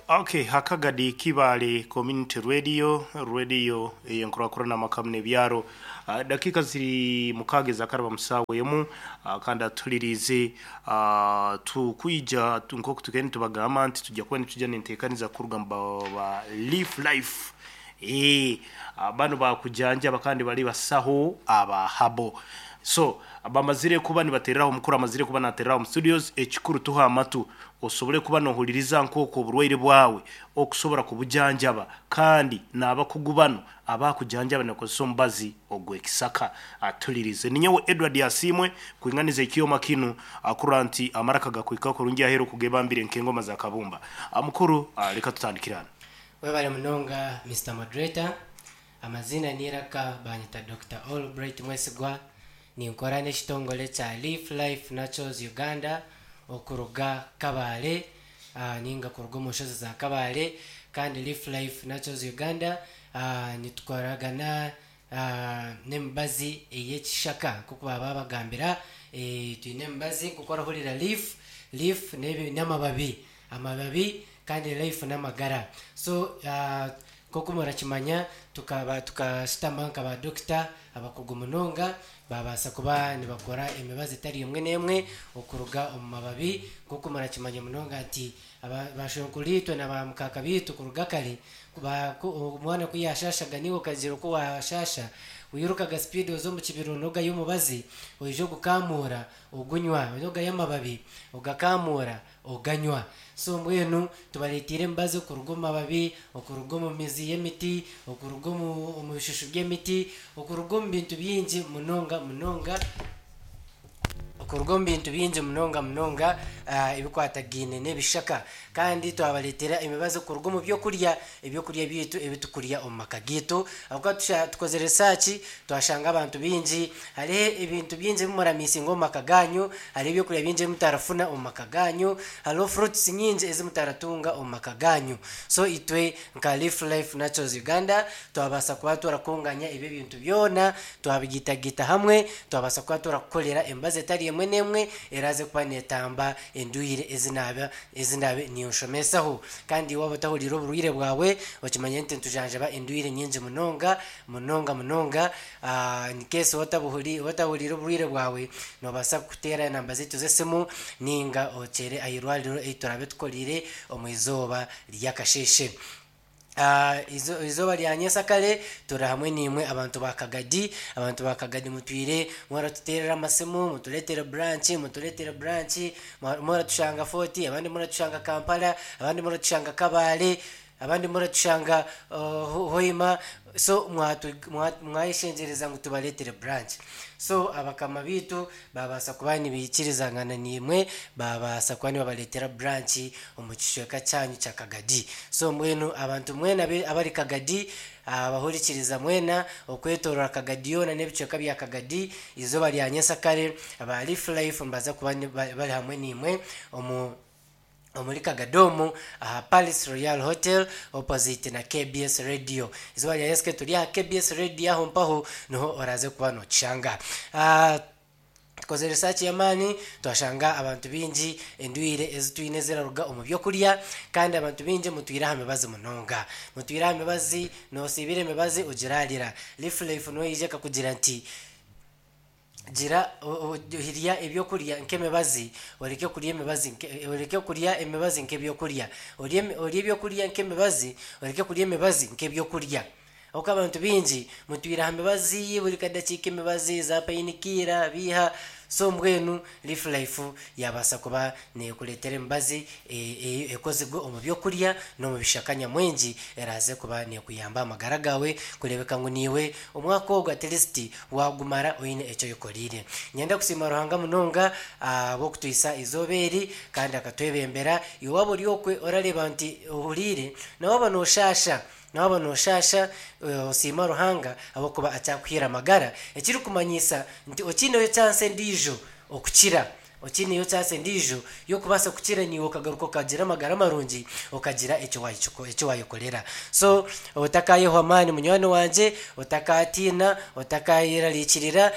Okay, Hakagadi Kibale Community Radio, radio eyenkurakurana amakamu n'ebyaro. Dakika ziri mukaaga ezakaraba musaawa emu kandi atuliriize tukwija nk'oku tugenda nitubagamba nti tujja kuba nitujya ninteekaniza kuruga mu ba Leaf Life. Banu bakujanjaba kandi bari basaho aba habo. So bamazire kuba nibatereraho omukuru amazire kuba natereraho omu studios ekikuru tuha amatu osobole kuba nohuririza nk'oku oburwaire bwawe okusobora kubujanjaba kandi n'abakugu banu abakujanjaba nibakozesa omubazi ogw'ekisaka. Atulirize. Ninyowe Edward Asiimwe kwinganiza ekyoma kinu akurora nti amaraka gakuhika kurungi aheeru okugebambire nk'engoma za kabumba. Mukuru leka tutandikire hanu. Webale munonga Mister Moderator. Amaziina n'eiraka banyeta Dokita Albright Mwesigwa, ninkora n'ekitongore kya Leaf Life Naturals Uganda okuruga Kabale ninga kuruga omu nshozi za Kabale kandi Leaf Life Naturals Uganda nitukoragana n'emibazi ey'ekishaka nk'oku baaba babagambira twine emibazi nk'oku orahurira leaf, leaf n'amababi, amababi kandi life n'amagara so Nk'oku murakimanya, tukaba tukashutama nka ba dokita abakugu munonga baabaasa kuba nibakora emibazi etari emwe n'emwe okuruga omu mababi. Nk'oku murakimanya munonga nti baashwenkuriitwe na baamukaaka baitu kuruga kare, omwana ku yaashaashaga naiwe okagira oku waashaasha, wairukaga sipiidi oza omu kibira onogayo omubazi oija ogukamuura ogunywa, onogayo amababi ogakamuura oganywa. So mbwenu tubareeteire emibazi okuruga omu mababi, okuruga omu mizi y'emiti, okuruga omu omu bishushu by'emiti, okuruga omu bintu bingi munonga munonga, okuruga omu bintu bingi munonga munonga ebikwatagaine n'ebishaka. Kandi twabareetera emibazi okuruga omu by'okurya, eby'okurya byaitu ebi tukurya omu maka gaitu. Ahabw'okuba tusha tukozire research twashanga abantu baingi hariho ebintu bingi ebi muramiisinga omu maka gaanyu, Hariho ebyokurya bingi ebi mutarafuna omu maka gaanyu, hariho fruits nyingi ezi mutaratunga omu maka gaanyu. So itwe nka Leaf Life Naturals Uganda twabaasa kuba turakunganya ebi ebintu byona twabigaitagaita hamwe, twabaasa kuba turakukorera emibazi etari emwe n'emwe eraaze kuba neetamba endwaire ezi naaba ezi ndaabe ninshomesaho. Kandi waaba otahuriire oburwaire bwawe, okimanye nti nitujanjaba endwaire nyingi munonga, munonga munonga. In case otahuriire oburwaire bwawe, noobaasa kuteera enamba zaitu z'esimu nainga okyere aha irwariro ei turaabe tukoriire omu izooba ry'akasheeshe. Eizooba rya nyensakare turi hamwe naimwe abantu ba Kagadi. Abantu ba Kagadi mutwire muratuteerera amasimu, mutureetere buranki, mutureetere buranki, muratushanga Fort, abandi muratushanga Kampala, abandi muratushanga Kabale. Abandi muratushanga Hoima so mwayeshengyereza ngu tubareetere branch. So abakama baitu baabaasa kuba nibaikirizangana naimwe baabaasa kuba nibabareetera branch omu kicweka kyanyu kya Kagadi. So mbwenu abantu mwena abari Kagadi, abahurikiriza mwena okwetooroora Kagadi yoona n'ebicweka bya Kagadi, eizooba rya nyensakare aba Leaf Life nibaza kuba bari hamwe naimwe omu omuri Kagadomu aha Palace Royal Hotel opposite na KBS Radio. Eizooba rya Yesu turi aha KBS Radio aho mpaho niho oraaze kuba nookishanga. Tukozire research y'amaani twashanga abantu baingi endwaire ezi twine ziraruga omu by'okurya kandi abantu baingi mutwire aha mibazi munonga. Mutwire aha mibazi, noosiibira emibazi ogiraarira. Leaf Life niyo yaija ekakugira nti Gira rya ebyokurya nk'emibazi, oreke kurya emibazi oreke kurya emibazi nk'ebyokurya. Orye orye ebyokurya nk'emibazi, oreke kurya emibazi nk'ebyokurya. Ahabw'okuba abantu baingi mutwire aha mibazi buri kadakiika emibazi, za painikira, biiha, so mbwenu Leaf Life yaabaasa kuba neekureetera emibazi ekozirwe omu by'okurya n'omu bishaka nyamwingi eraaze kuba neekuyamba aha magara gaawe kureebeka ngu naiwe omwaka ogu at least Waagumara oine eki oyekoreire. Niinyenda kusiima Ruhanga munonga ahabw'okutuhitsya eizooba eri kandi akatwebembera. Iwe waaba ori okwe orareeba nti ohuriire, na waaba nooshaasha, na waaba nooshaasha osiima Ruhanga ahabw'okuba akyakuhaire amagara, ekirikumanyisa nti okiineyo chance endiijo okukira. Okiineyo chance endiijo y'okubaasa kukira naiwe okagaruka okagira amagara marungi okagira eki eki waayekorera. So otakaayehwa amaani munywani wangye, otakaatiina, otakaayerarikirira,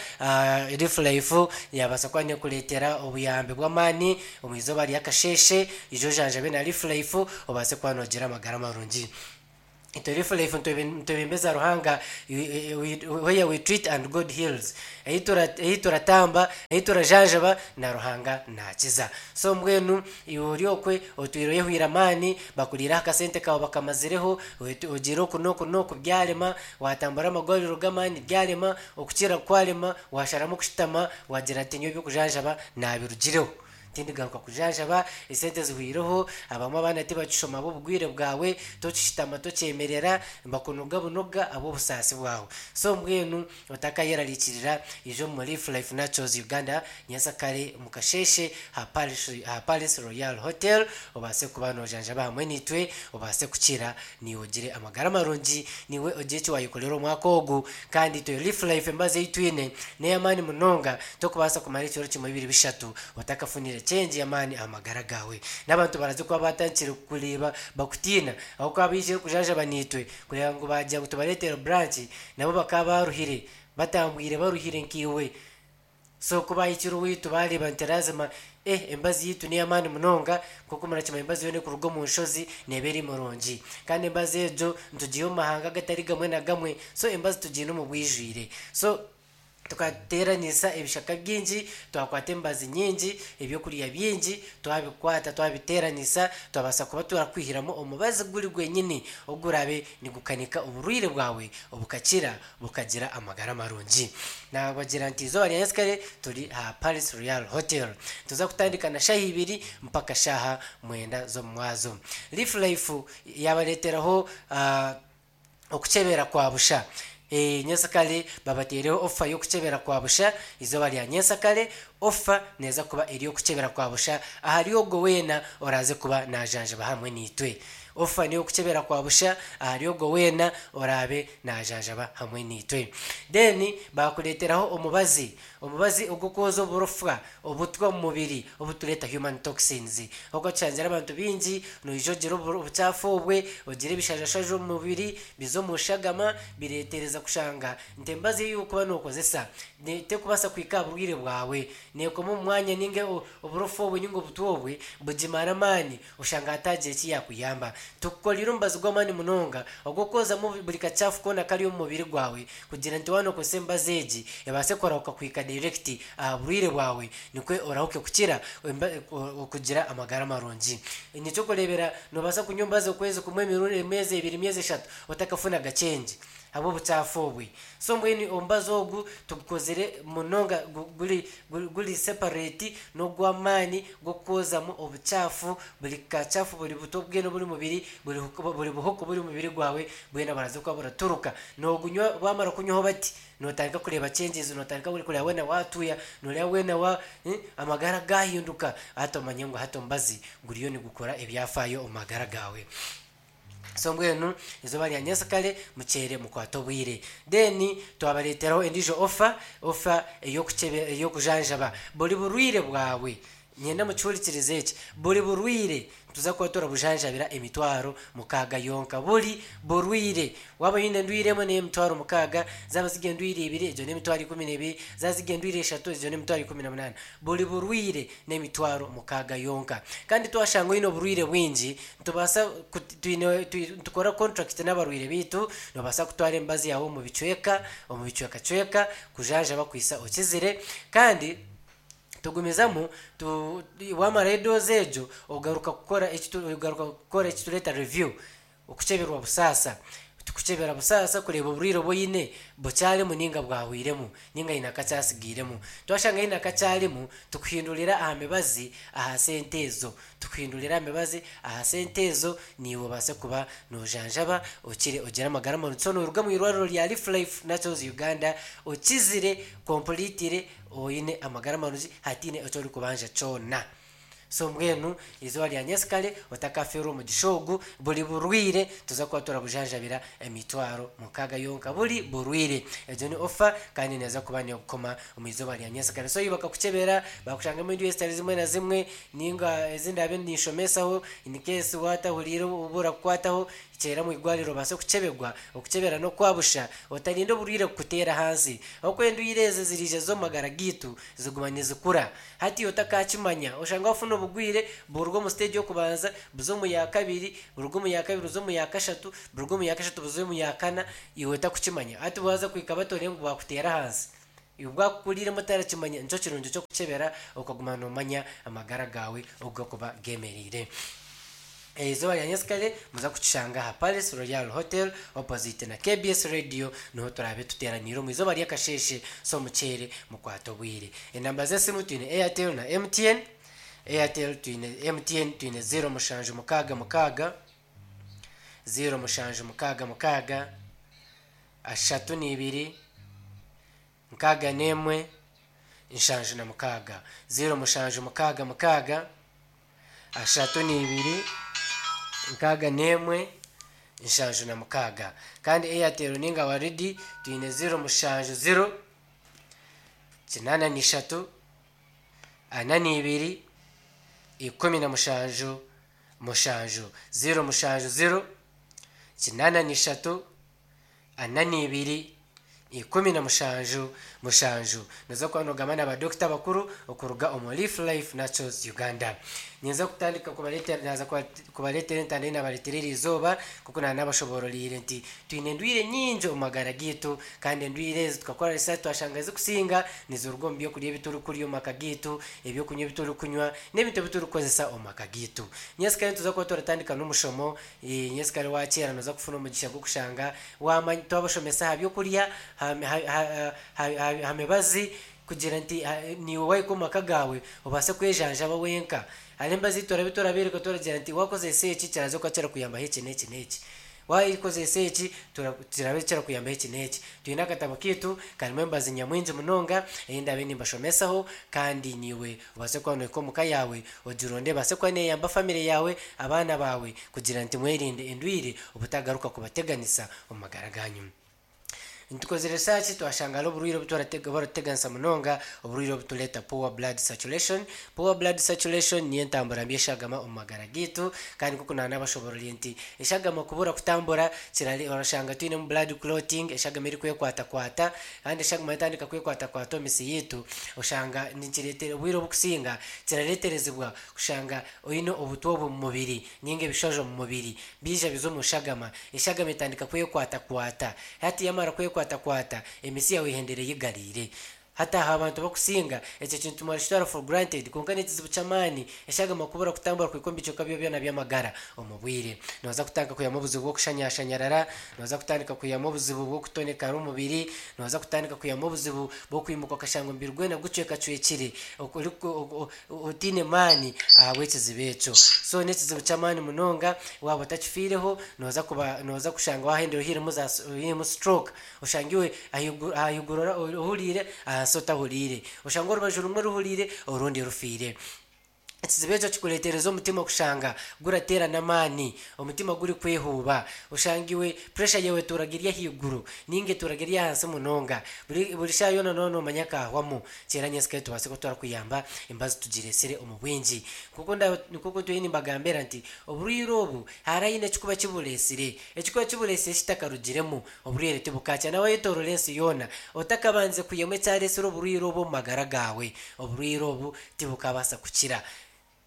Leaf Life yaabaasa kuba neekureetera obuyambi bw'amaani omu izooba ry'akasheeshe, ija ojanjabe na Leaf Life obaase kuba noogira amagara marungi. Itwe Leaf Life nitwebembeza Ruhanga, where we treat and God heals. Ei turatamba, ei turajanjaba na Ruhanga nakiza. So mbwenu iwe ori okwe otwire oyehwire amaani, bakuriire aha kasente kaawe bakamazireho, ogiire oku n'oku n'oku byarema, watambura amagwariro g'amaani byarema, okukira kwarema, washaramu kushutama wagira nti nyowe eby'okujanjaba nabirugireho. Tindigaruka kujanjaba, esente zihwireho, abamwe abaana tibakishoma ahabw'obugwire bwawe, tokishutama tokyemerera, nibakunuga bunuga ahabw'obusaasi bwawe. So mbwenu otakayerarikirira, ija omu Leaf Life Naturals Uganda nyentsakare omu kasheeshe aha Parish aha Palace Royal Hotel obaase kuba nojanjaba hamwe naitwe obaase kukira naiwe ogire amagara marungi, naiwe ogire eki wayekorera omwaka ogu. Kandi itwe Leaf Life embazo ei twine n'ey'amaani munonga, tokubaasa kumara ekiro kimwe bibiri bishatu otakafunire change y'amaani aha magara gaawe. N'abantu baraza kuba baatandikire kukureeba bakutiina ahabw'okuba baijire kujanjaba naitwe kureeba ngu baagira ngu tubareetere branch nabo bakaba baruhire, batambwire baruhire nkaiwe. So ku baahikire owaitu baareeba nti lazima eh embazi yaitu n'ey'amaani munonga nk'oku murakimanya embazi yoona erikuruga omu nshozi neeba eri murungi. Kandi embazi egyo nitugiiha omu mahanga agatari gamwe na gamwe so embazi tugiine omu bwijwire. So tukateeranisa ebishaka bingi, twakwata emibazi nyingi, ebyokurya bingi twabikwata twabiteeranisa twabaasa kuba turakwihiramu omubazi guri gwenyini oguraabe nigukanika oburwaire bwawe bukakira bukagira amagara marungi. Naabagira nti eizooba rya nyensikare turi aha Palace Royal Hotel. Nituza kutandika na shaaha ibiri mpaka shaaha mwenda z'omumwazo. Leaf Life yaabareeteraho okukyebera kwa busha. Nyensikare babateeireho ofa y'okukyebera kwa busha eizooba rya nyensikare. Ofa neeza kuba eri ey'okukyebera kwa busha ahari ogwo weena oraaze kuba naajanjaba hamwe naitwe. Ofa n'ey'okukyebera kwa busha ahari ogwo weena oraabe naajanjaba hamwe naitwe. Then baakureeteraho omubazi, omubazi ogw'okwoza oburofwa obutwa omu mubiri obutureeta human toxins. Ahabw'okuba tushangire abantu baingi noija ogira obucaafu obwe, ogira ebishajashaju omu mubiri, biza omu shagama, bireetereza kushanga nti emibazi ei orikuba nookozesa terikubaasa kuhika aha burwaire bwawe. Neekoma omu mwanya nainga oburofa obwe nainga obutwa obwe bugimara amaani oshanga hataagira eki yaakuyamba. Tukukoreire omubazi gw'amaani munonga ogw'okwozamu buri kacaafu koona akari omu mubiri gwawe kugira nti waaba nookozesa emibazi egi ebaase kurahuka kuhika direct aha burwaire bwawe nikwo orahuke kukira okugira amagara marungi. N'eky'okureebera noobaasa kunywa omubazi okwezi kumwe, emyezi ebiri, emyezi eshatu otakafunaga change. Ahabw'obucaafu obwe. So mbwenu omubazi ogu tugukozire munonga guri guri separate n'ogw'amaani gw'okwozamu obucaafu, buri kacaafu buri buto bwena oburi omu mubiri, buri buri buhuka oburi omu mubiri gwawe bwena buraza kuba buraturuka. Noogunywa waamara kunywaho bati, nootandika kureeba changes, nootandika kureeba weena waatuuya, nooreeba weena wa amagara gaahinduka, hati omanye ngu hati omubazi guriyo nigukora ebyafaayo omu magara gaawe. So mbwenu eizooba rya nyensikare mukyere mukwate obwire. Then twabareeteraho endiijo offer, offer ey'okukyebe ey'okujanjaba buri burwaire bwawe. Niinyenda mukihurikirize eki, buri burwaire nituza kuba turabujanjabira emitwaro mukaaga yonka. Buri burwaire. Waaba oine endwaire emwe n'emitwaro mukaaga, zaaba ziri endwaire ibiri egyo n'emitwaro 12, zaaba ziri endwaire ishatu egyo n'emitwaro 18. Buri burwaire n'emitwaro mukaaga yonka. Kandi twashanga oine oburwaire bwingi, nitubaasa twine nitukora contract n'abarwaire baitu, noobaasa kutwara emibazi yaawe omu bicweka, omu bicwekacweka kujanjaba kuhitsya okizire. Kandi tugumizamu tu waamarayo doozi egyo, ogaruka kukora eki ogaruka kukora eki tureeta review. Okukyeberwa busaasa. Tikukyebera busaasa kureeba oburwaire obu oine bukyarimu nainga bwahwairemu, nainga haine akakyatsigairemu. Twashanga haine akakyarimu, tukuhindurira aha mibazi aha sente ezo. Tukuhindurira aha mibazi aha sente ezo, naiwe obaase kuba noojanjaba okire ogire amagara marungi. So nooruga omu irwariro rya Leaf Life Naturals Uganda okizire completely oine amagara marungi hataine eki orikubanja kyona. So mbwenu eizooba rya nyensikare otakafeerwa omugisha ogu, buri burwire tuza kuba turabujanjabira emitwaro mukaaga yonka buri burwire. Egyo ni ofa kandi neeza kuba nekukoma omu izooba rya nyensikare. So bakakukyebera bakushangamu endwara ezitari zimwe na zimwe ninga ezi ndaabe ninshomesaho in case waatahuriire obu burakukwataho, kyera omu irwariro obaase kukyebegwa. Okukyebera n'okwabusha, otarinda oburwire kukuteera ahansi. Ahabw'okuba endwire ezi ziriija z'omu magara gaitu ziguma nizikura. Hati otakakimanya, oshanga wafuna obugwire buruga omu siteegi y'okubanza buza omu ya kabiri, buruga omu ya kabiri buza omu ya kashatu, buruga omu ya kashatu buza omu ya kana, iwe otakukimanya. Hati bwaza kuhika bati ngu bwakuteera ahansi, iwe bwakukuriiremu otarakimanya. Nikyo kirungi ky'okukyebera okaguma noomanya amagara gaawe oku garikuba geemereire. Eizooba rya nyensikare muza kukishanga aha Palace Royal Hotel opposite na KBS Radio niho turaabe tuteeraniire omu izooba ry'akasheeshe so mukyere mukwate obwire. Enamba z'esimu twine Airtel na MTN, Airtel twine MTN twine 0766, 0766, 32, 61, 76, 0766, 32, 61, 76. Kandi Airtel ninga Waridi twine 070, 83, 42, 17, 7, 070, 83, 42, 17, 7. Noza kuba nogamba na badokita bakuru okuruga omu Leaf Life Naturals Uganda. Ninza kutandika kubareetera naaza kubareetera entanda ei naabareetera eri izooba nk'oku naaba naabashoboororeire nti twine endwire nyingi omu magara gaitu kandi endwire ezi tukakora research twashanga ezikusinga niziruga omu byokurya ebi turikurya omu maka gaitu, ebyokunywa ebi turikunywa n'ebintu ebi turikukozesa omu maka gaitu. Nyensikare nituza kuba turatandika n'omushomo, nyensikare waakyera nooza kufuna omugisha gw'okushanga Waamanya twabashomesa aha by'okurya, aha mibazi kugira nti naiwe waahika omu maka gaawe obaase kwejanjaba wenka. Hariho emibazi ei turabe turabeereka turagira nti waakozesa eki kiraza kuba kirakuyambaho eki n'eki n'eki. Waakozesa eki kirabe kirakuyambaho eki n'eki. Twine akatabo kaitu karimu emibazi nyamwingi munonga ei ndaabe nimbashomesaho kandi naiwe Obaase kuba nohika omuka yaawe ogironde ebaase kuba neyamba famire yaawe, abaana baawe kugira nti mwerinde endwire obutagaruka kubateganisa omu magara ganyu. Nitukozire research twashanga hariho oburwaire oburatuteganisa munonga, oburwaire obutureeta poor blood circulation. Poor blood circulation niyo entambura mbi y'eshagama omu magara gaitu kandi nk'oku naanabashobororire nti eshagama kubura kutambura orashanga twinemu blood clotting, eshagama erikwekwatakwata Kandi eshagama yatandika kwekwatakwata omu misi yaitu, oshanga nikireetera obwire obukusinga kirareeterezibwa kushanga oine obutwa obu omu mubiri ninga ebishaju omu mubiri biija biza omu shagama. Eshagama etandika kwekwatakwata. Hati yamara kwekwatakwata, emisi yaawe ehendera eyigariire. Hati aha abantu abakusinga ekyo kintu mwarakitwara for granted kwonka n'ekizibu ky'amaani eshagama kubura kutambura kuhika omu bicweka byawe byona by'amagara omu bwire. Nooza kutandika kwihamu obuzibu bw'okushanyashanyarara, nooza kutandika kwihamu obuzibu bw'okutonekara omubiri, nooza kutandika kwihamu obuzibu bw'okwimuka okashanga omubiri gwona gucwekacwekire otaine maani ahabw'ekizibu ekyo. So n'ekizibu ky'amaani munonga waaba otakifiireho nooza kuba nooza kushanga waahendera ohairemu za ohairemu stroke. Oshange iwe ahaiguru ahaiguru ohuriire, ahansi otahuriire. Oshange orubaju rumwe ruhuriire, orundi rufiire. Ekizibu ekyo kikureetereza omutima kushanga gurateera n'amaani, omutima gurikwehuuba. Oshange iwe puresha yaawe etuuraga eri ahaiguru nainga etuuraga eri ahansi munonga. Buri buri shaaha yoona nooba noomanya akaahwamu. Kyera nyentsya tubaase kuba twarakuyamba embazi tugireetsire omu bwingi. Nk'oku nda nk'oku ntwire nimbagambira nti oburwaire obu hariho haine ekikuba kibureetsire. Ekikuba kibureetsire kitakarugiremu, Oburwaire tibukakya na wayetoorora ensi yoona otakabandize kwihamu ekyaretsire oburwaire obu omu magara gaawe. Oburwaire obu tibukabaasa kukira.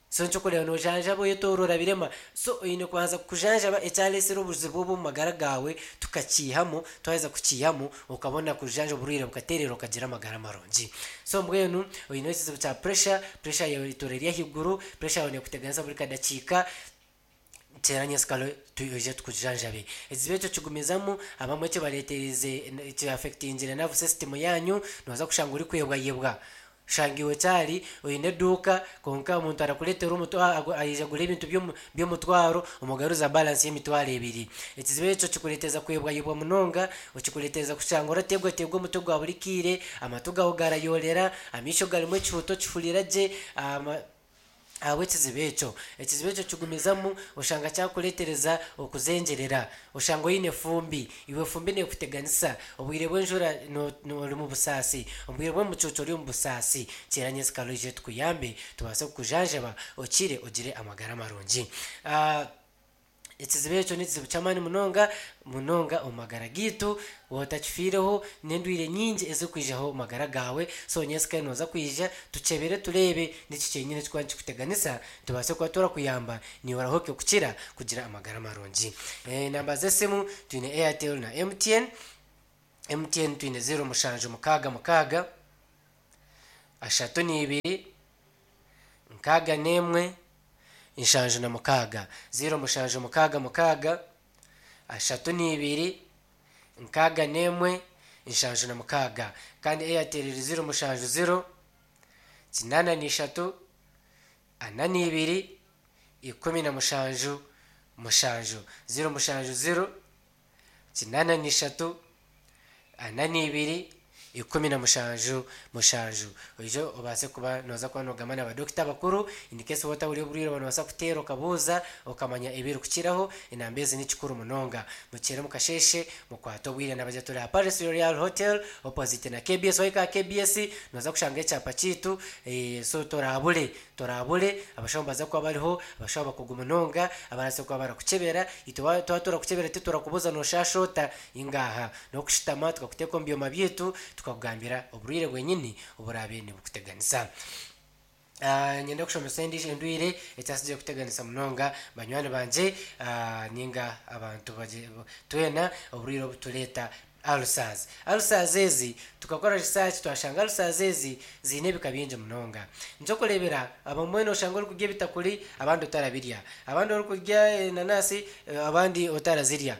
So nikyo orikureeba nojanjaba oyetoorora birema. So oine kubanza kujanjaba ekyaretsire obuzibu obu omu magara gaawe tukakiihamu, twaheza kukiihamu okabona kujanja oburwaire bukateerera okagira amagara marungi. So mbwenu oine ekizibu kya pressure, pressure yaawe etuura eri ahaiguru, pressure yaawe neekuteganisa buri kadakiika, Teera nyensikare twije tukujanjabe. Ekizibu ekyo kigumizamu, abamwe kibareetereize ki affectingire nerve system yaanyu, nooza kushanga orikwebwayebwa. Oshanga iwe kyari oine eduuka kwonka omuntu arakureetera aija agura ebintu by'omutwaro omugaruza balance y'emitwaro ebiri. Ekizibu ekyo kikureetereza kwebwayebwa munonga, kikureetereza kushanga orateegwateegwa omutwe gwa buri kaire, amatu gaawe garayoorera, amaisho garimu ekihuta okihurira gye. Ahabw'ekizibu ekyo. Ekizibu ekyo kigumizamu oshanga kyakureetereza okuzengyerera. Oshanga oine efumbi, iwe efumbi neekuteganisa. Obwire bw'enjura ori omu busaasi, omu bwire bw'omucuucu ori omu busaasi. Kyera nyensikare oije tukuyambe tubaase kukujanjaba okire ogire amagara marungi. Ekizibu ekyo n'ekizibu ky'amaani munonga munonga omu magara gaitu. Waaba otakifiireho, n'endwaire nyingi ezirikwijaho omu magara gaawe. So nyentsya nooza kwija tukyebere tureebe niki kyenyine ekirikuba nikikuteganisa tubaase kuba turakuyamba naiwe orahuke kukira kugira amagara marungi. Enamba z'esimu twine Airtel na MTN. MTN twine zeero mushanju mukaaga mukaaga, ashatu n'ibiri, nkaaga n'emwe, 76, 0766, 32, 61, 76. Kandi Airtel eri 070, 83, 42, 17, 7. 070, 83, 42, 17, 7. Oije obaase kuba nooza kuba noogamba na badokita abakuru in case waaba otahuriire oburwaire obu noobaasa kuteera okabuuza okamanya ebirikukiraho. Enamba ezi ni kikuru munonga. Mukyere omu kasheeshe mukwate obwire nabagira turi aha Paris Royal Hotel opposite na KBS. Waahika aha KBS nooza kushanga ekyapa kyaitu so toraabure Toraabure, abashaho nibaza kuba bariho, abashaho abakugu munonga abarabaasa kuba barakukyebera. Itwe twaba turakukyebera titurakubuuza nooshaasha ota, ingaaha. N'okushutama tukakuteeka omu byoma byaitu tukakugambira oburwaire bwenyini oburaabe nibukuteganisa. Niinyenda kushomesa endiijo endwaire etasigire kuteganisa munonga banywani bangye nainga abantu twena, oburwaire obutureeta Ulcers. Ulcers ezi tukakora research twashanga ulcers ezi ziine ebika bingi munonga. Nikyokureebera abamwe noshanga orikurya ebitakuri abandi otarabirya, abandi orikurya enanasi abandi otarazirya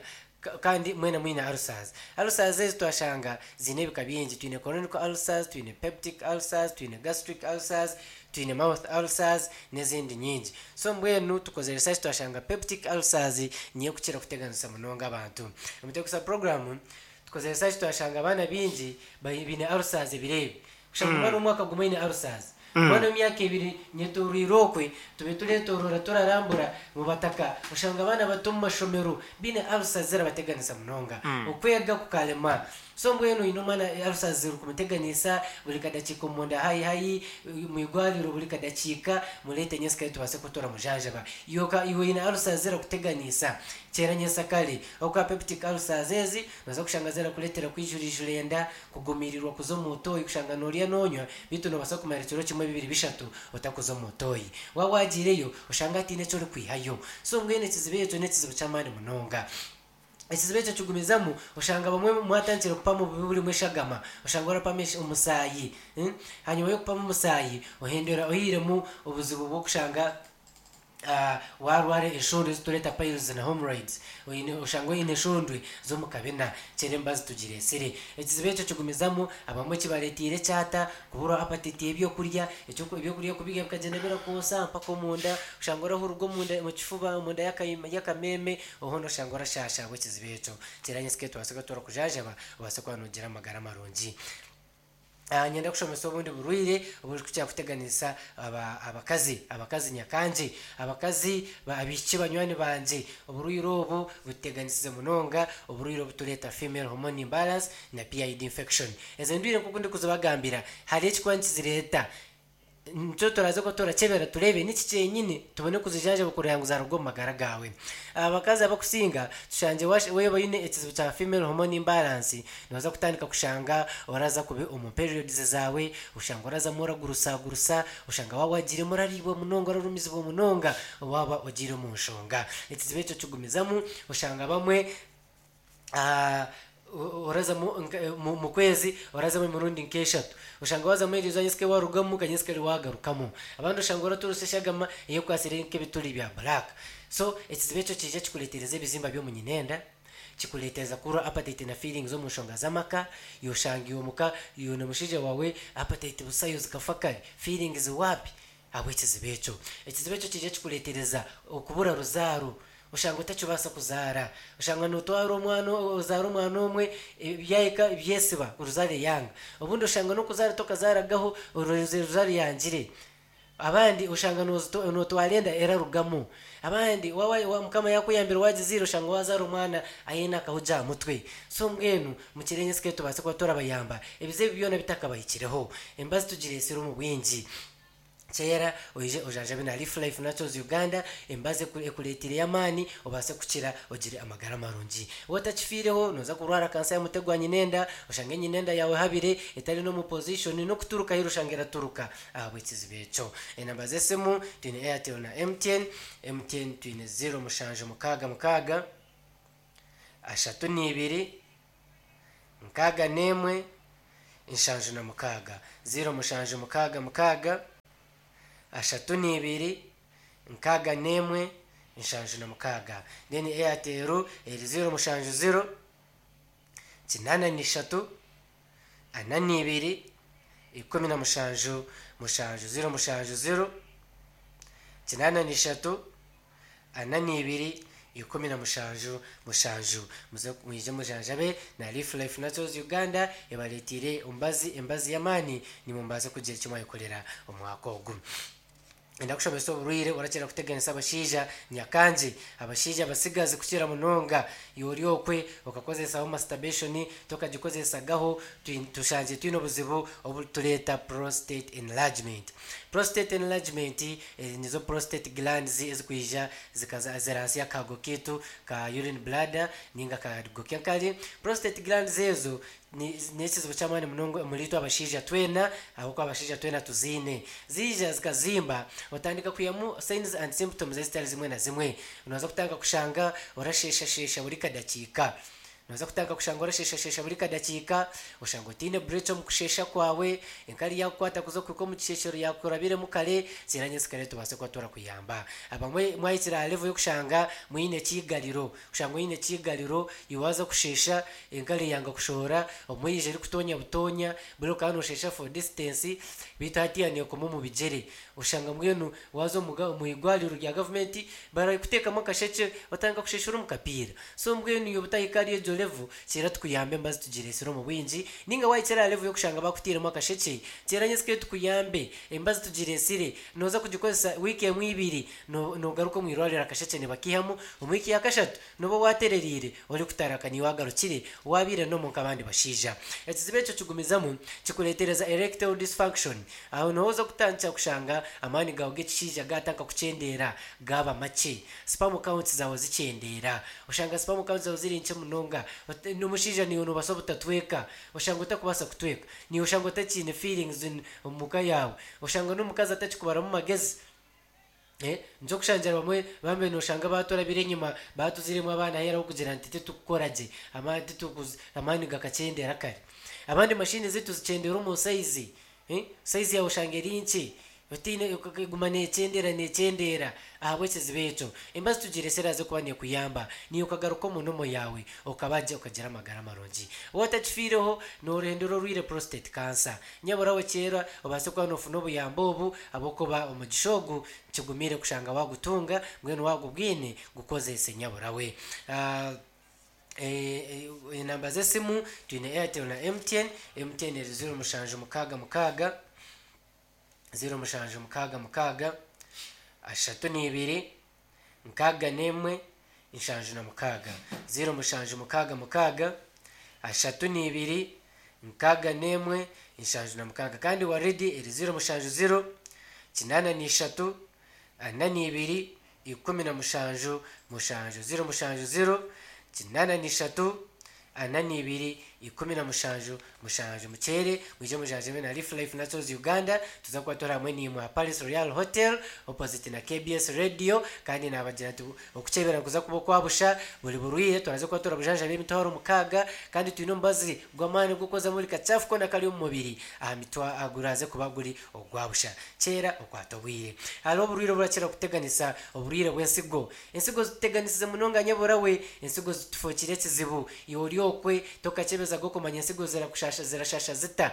kandi mwena mwine ulcers. Ulcers ezi twashanga ziine ebika bingi, twine chronic ulcers, twine peptic ulcers, twine gastric ulcers, twine mouth ulcers n'ezindi nyingi. So mbwenu tukozire research twashanga peptic ulcers niyo ekukira kuteganisa munonga abantu. Omu Tekusa program tukozire research twashanga abaana baingi baine ulcers ebiro ebi. Kushanga omwana w'omwaka gumwe aine ulcers. Omwana w'emyaka ebiri nyetoroire okwe tube turetorora turarambura omu bataka oshanga abaana bato omu mashomero baine ulcers zirabateganisa munonga. Okwega kukarema. So mbwenu oine omwana ulcers zirikumuteganisa buri kadakiika omunda hayi hayi, omu irwariro buri kadakiika, mureete nyensikare tubaase kuba turamujanjaba. Iwe oka iwe oine ulcers zirakuteganisa, kyera nyensakare. Ahabw'okuba peptic ulcers ezi nooza kushanga zirakureetera kwijurijura enda, kugumiirirwa kuza omu toyi, kushanga noorya noonywa beitu noobaasa kumara ekiro kimwe, bibiri, bishatu otakuza omu toyi. Waaba waagiireyo oshange hataine eki orikwihayo. So mbwenu ekizibu ekyo n'ekizibu ky'amaani munonga. Ekizibu ekyo kigumizamu, oshanga abamwe mwatandikire kupama obubi burimu eshagama, oshanga orapama omusaayi. Hanyima y'okupama omusaayi, ohendera oihiremu obuzibu bw'okushanga waarwara eshondwe ezi tureeta piles na hemorrhoids. Oine oshanga oine eshondwe z'omu kabina, kyera emibazi tugireetsire. Ekizibu ekyo kigumizamu, abamwe kibareeteire ekyata, Kuburwa apatiti y'ebyokurya, ebyokurya kubirya bikagyenda birakwosa mpaka omunda, oshanga orahururwa omunda omu kifuba, omunda y'akameeme, hoona oshanga orashaasha ahabw'ekizibu ekyo. Kyera nyentsya tubaase kuba turakujanjaba obaase kuba noogira amagara marungi. Niinyenda kushomesa obundi burwaire oburikukira kuteganisa abakazi, abakazi nyakangye, abakazi abaishiki banywani bangye, oburwaire obu bututeganisize munonga, oburwaire obutureeta female hormone imbalance na PID infection. Ezo ndwire nk'oku ndikuzibagambira, hariho ekirikuba nikizireeta. Nikyo turaaze kuba turakyebera tureebe niki kyenyini tubone kuzijanjaba kureba ngu zaaruga omu magara gaawe. Abakazi abakusinga tushangire waaba oine ekizibu kya female hormone imbalance, nooza kutandika kushanga oraza kubi omu periods zaawe, oshanga orazamu oragurusagurusa, oshanga waaba wagiiremu orariibwa munonga, orarumizibwa munonga waaba ogiire omu nshonga. Ekizibu ekyo kigumizamu, oshanga abamwe Orazamu omu kwezi orazamu emirundi nk'eshatu. Oshanga waazamu eriizooba nyentsya warugamu ka nyentsya waagarukamu. Abandi oshanga oraturisa eshagama eyekwatsire nk'ebituri bya black. So ekizibu ekyo kiija kikureetereza ebizimba by'omu nyinenda, kikureetereza kuburwa appetite na feelings omu nshonga z'amaka, iwe oshanga iwe omuka iwe na mushaija waawe appetite busayo zikafa kare, feelings waapi ahabw'ekizibu ekyo. Ekizibu ekyo kiija kikureetereza okubura ruzaaro. Oshanga otakibaasa kuzaara. Oshanga nootwara omwana ozaara omwana omwe byahika byesiba oruzaaro eyanga. Obundi oshanga n'okuzaara tokazaaragaho oruzaaro yangire. Abandi oshanga nootwara enda erarugamu. Abandi waaba Mukama yaakuyambire waagizaire oshanga waazaara omwana aine akahugi aha mutwe. So mbwenu mukire nyensya tubaase kuba turabayamba ebizibu ebi byona bitakabahikireho. Embazi tugireetsire omu bwingi. Kyera oije ojanjabe na Leaf Life Naturals Uganda, embazi ekureetireyo amaani obaase kukira ogire amagara marungi. Waaba otakifiireho nooza kurwara kansa y'omutwe gwa nyinenda, oshange nyinenda yaawe ehabire etari n'omu position n'okuturuka ahi eri oshange eraturuka ahabw'ekizibu ekyo. Enamba z'esimu twine Airtel na MTN, MTN twine ziro mushanju mukaaga mukaaga, ashatu n'ibiri, 61, 76, 0766, 32, 61, 76. Then Airtel eri 070, 83, 42, 17, 7, 070, 83, 42, 17, 7. Muze mwije mujanjabe na Leaf Life Naturals Uganda ebareeteire omubazi embazi y'amaani nimwo mubaase kugira eki mwayekorera omwaka ogu. Enda kushomesa oburwaire orakira kuteganisa abashaija nyakangye, abashaija abatsigazi kukira munonga. Iwe ori okwe okakozesaho masturbation tokagikozesagaho tushangire twine obuzibu obu tureeta prostate enlargement. Prostate enlargement nizo prostate glands ezikwija zikaza ziri ahansi y'akago kaitu ka urine bladder ninga akago k'enkari. Prostate glands ezo n'ekizibu ky'amaani munonga omuri itwe abashaija twena ahabw'okuba abashaija twena tuziine. Ziija zikazimba otandika kwihamu signs and symptoms ezitari zimwe na zimwe. Nooza kutandika kushanga orasheeshasheesha buri kadakiika. Nooza kutandika kushanga orasheeshasheesha buri kadakiika, oshanga otaine break omu kusheesha kwawe, enkari yaakukwata kuza kuhika omu kisheeshero yaakurabiremu kare, kiira nyentsya kare tubaase kuba turakuyamba. Abamwe mwahikire aha level y'okushanga mwine ekiigariro, kushanga oine ekiigariro iwe waaza kusheesha enkari eyanga kushohora, obumwe eija erikutonya butonya, buri okaba noosheesha for distance beitu hatiiya neekoma omu bigyere. Oshanga mbwenu waaza omu eigwariro rya gavumenti barikuteekamu akashekye otandika kusheeshera omu kapiira. So mbwenu iwe obutahika ahari egyo level, kyera tukuyambe embazi tugireetsire omu bwingi, nainga waahikire aha level y'okushanga bakutairemu akashekye, kyera nyentsya kare tukuyambe embazi tugireetsire, nooza kugikozesa wiiki emwe ibiri, noogaruka omu irwariro akashekye nibakaihamu, omu wiiki ya kashatu nooba waaterereire orikutaraka niiwe waagarukire waabaire normal nk'abandi bashaija. Ekizibu ekyo kigumizamu kikureetereza erectile dysfunction, Aho niho oza kutandikira kushanga amaani gaawe g'ekishaija gaatandika kukyendeera gaaba makye. Sperm counts zaawe zikyendeera. Oshanga sperm counts zaawe ziri nkye munonga. N'omushaija naiwe noobaasa obutatweka. Oshanga otakubaasa kutweka. Naiwe oshanga otakiine feelings omu ka yaawe. Oshanga n'omukazi atakikubaramu magezi. Nikyo kushangira bamwe bambe noshanga baturabire enyima batuziremu abaana ahu arikugira nti titukukora gye amaani gakakyendera kare. Abandi mashini zaitu zikyendera omu sayizi, sayizi yaawe oshanga eri nkye otaine eguma nekyendera nekyendera ahabw'ekizibu ekyo. Embazi tugiresire aze kuba nekuyamba naiwe okagaruka omu nomo yaawe okaba gye okagira amagara marungi. Waaba otakifiireho nohendera orwaire prostate cancer. Nyabura we kyera obaase kuba noofuna obuyambi obu ahabw'okuba omugisha ogu kigumire kushanga waagutunga, mbwenu waagubwine gukozeese nyabura we. Enamba z'esimu twine Airtel na MTN, MTN eri 0766, 0766, 32, 61, 76, 0766, 32, 61, 76 kandi Waridi eri 070, 83, 42, 17, 7, 070, 83, 42, 17, 7 Mukyere mwije mujanjabe na Leaf Life Naturals Uganda tuza kuba turi hamwe naimwe aha Palace Royal Hotel opposite na KBS Radio kandi nabagira nti okukyebera nikuza kuba okwa busha buri burwaire turaza kuba turabujanjaba emitwaro mukaaga kandi twine omubazi gw'amaani ogw'okwozamu buri kachafu koona akari omu mubiri aha mitwa guraze kuba guri ogwa busha. Kyera okwata obwire. Hariho oburwaire oburakira kuteganisa oburwaire bw'ensigo. Ensigo zituteganisize munonga nyabura we, ensigo zitufookire ekizibu. Iwe ori okwe tokakyebezaga okumanya ensigo zirakushasha zirashasha zita.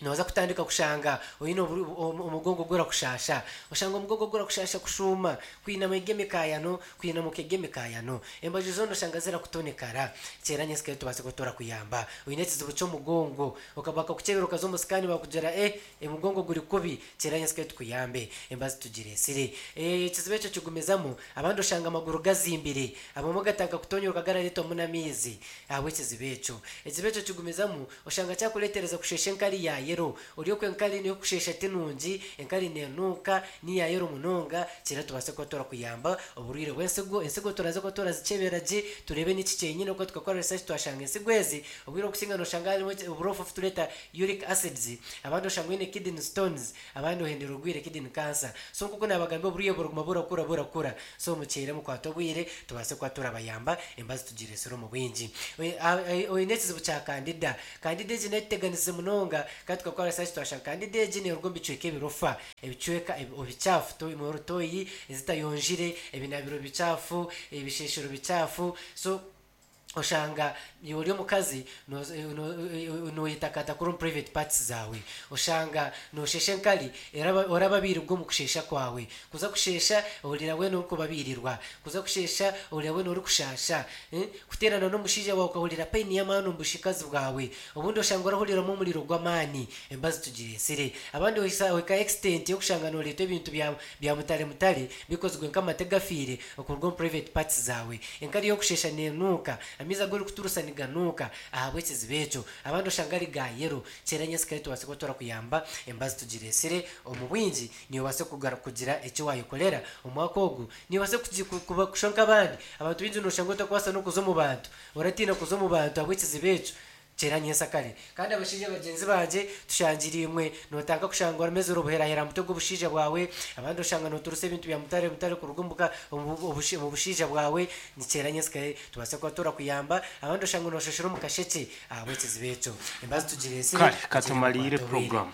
Nooza kutandika kushanga oine omugongo gurakushaasha. Oshanga omugongo gurakushaasha kushuuma, kwinama egi emikaayano, kwinamuka egi emikaayano. Embaju zoona oshanga zirakutonekara. Kyera nyentsya tubaase kuba turakuyamba. Oine ekizibu ky'omugongo, okaba bakakukyebera okaza omu sikaani bakugira eh omugongo guri kubi, kyera nyentsya tukuyambe. Embazi tugireetsire. Ekizibu ekyo kigumizamu, abandi oshanga amaguru gazimbire, abamwe gatandika kutonyoroka garareetwamu n'amaizi ahabw'ekizibu ekyo. Ekizibu ekyo kigumizamu, Oshanga kyakureetereza kusheesha enkari ya yero. Ori okwo enkari ey'okusheesha ti nungi, enkari neenuuka, ni ya yero munonga, kyera tubaase kuba turakuyamba oburwaire bw'ensigo. Ensigo turaza kuba turazikyebera gye tureebe niki kyenyine ahabw'okuba tukakora research twashanga ensigo ezi obwire obukusinga nooshanga harimu oburofa obu tureeta uric acids, abandi oshanga oine kidney stones, abandi ohendera orwaire kidney cancer. So nk'oku naabagambira oburwaire buraguma burakura burakura. So mukyere mukwate obwire tubaase kuba turabayamba embazi tugireetsire omu bwingi. Oine ekizibu kya kandida. Kandida egi netuteganisize munonga kandi tukakora research twashanga kandida egi neruga omu bicweka ebirofa, ebicweka ebikyafu, toyi ezitayonjire, ebinabiro bikyafu, ebisheshero bikyafu. So Oshanga iwe ori omukazi noyetakatakura omu private parts zaawe. Oshanga noshesha enkari orababirirwa omu kushesha kwawe. Kuza kushesha ohurira weena orikubabirirwa. Kuza kushesha ohurira weena orikushasha. Kuteerana n'omushaija waawe okahurira pain y'amaani omu bushikazi bwawe. Obundi oshanga orahuriramu omuriro gw'amaani. Embazi tugireetsire. Abandi ohika extent y'okushanga noreetwa ebintu bya mutare mutare bikozirwe nk'amate gafiire okuruga omu private parts zaawe. Enkari y'okusheesha nenuuka, amaizi agu orikuturusa niganuuka ahabw'ekizibu ekyo. Abandi oshanga ari ga yellow. Kyera nyensikare tubaase kuba turakuyamba embazi tugireetsire omu bwingi niiwe obaase kugira eki waayekorera omwaka ogu. Niiwe obaase kushusha nk'abandi. Abantu baingi nooshanga otakubaasa n'okuza omu bantu. Oratiina kuza omu bantu ahabw'ekizibu ekyo. Kyera nyensakare. Kandi abashaija bagyenzi bangye, tushangire imwe nootandika kushanga oramezire obuherahera aha mutwe gw'obushaija bwawe, abandi oshanga nooturusa ebintu bya mutare mutare kuruga omu buka omu bushaija bwawe. Nikyera nyensikare tubaase kuba turakuyamba. Abandi oshanga nooshoshera omu kashekye ahabw'ekizibu ekyo. Embazi tugireetsire Kare, kugira ngu katumariire tukwate obwire. puroguramu.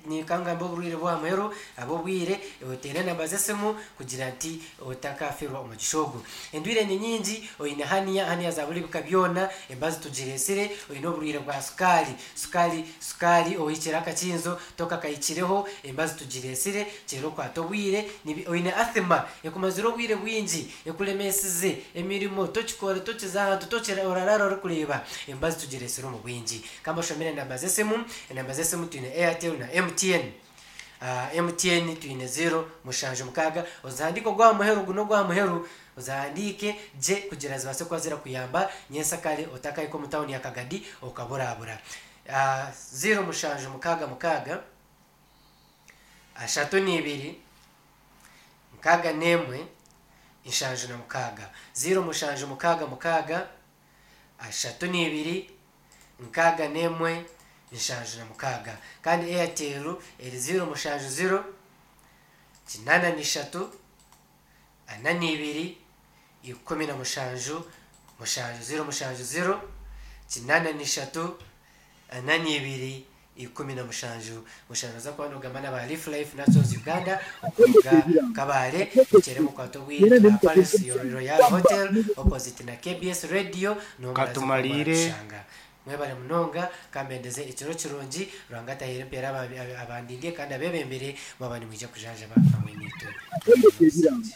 Ninkangamba oburwaire bw'aha muheru ahabw'obwire, oteere enamba z'esimu kugira nti otakafeerwa omugisha ogu. Endwaire ni nyingi, oine hernia, hernia za buri bika byona, embazi tugireetsire, oine oburwaire bwa sukaari, sukaari, sukaari ohikire akakinzo tokakahikireho, embazi tugireetsire, kyera okwate obwire, oine asthma ekumazire obwire bwingi, ekuremeesize emirimo, tokikora, tokiza ahantu, tokira, oraraara orikureeba, embazi tugireetsire omu bwingi. Ka mbashomere enamba z'esimu. Enamba z'esimu twine Airtel na MTN. MTN twine ziro mushanju mukaaga. Ozihandiike ogw'aha muheru ogu n'ogw'aha muheru, ozihandiike gye kugira zibaase kuba zirakuyamba nyensakare otakahika omu tawuni ya Kagadi okaburabura. Ziro mushanju mukaaga mukaaga, ashatu n'ibiri, nkaaga n'emwe, nshanju na mukaaga. Ziro mushanju mukaaga mukaaga, ashatu n'ibiri, 61 76. Kandi Airtel eri 070 83 42 17 7 070 83 42 17 7. Noza kuba nogamba n'aba Leaf Life Naturals Uganda okuruga Kabale mukyere mukwate obwire turi aha Palace Royal Hotel opposite na KBS Radio niho muraza kuba Katumariire. muratushanga. Mwebare munonga kambendeze ekiro kirungi Ruhanga ataheire empeera abandindie kandi abebembere mwaba nimwija kujanjaba hamwe naitwe. Mugire n'obusingye.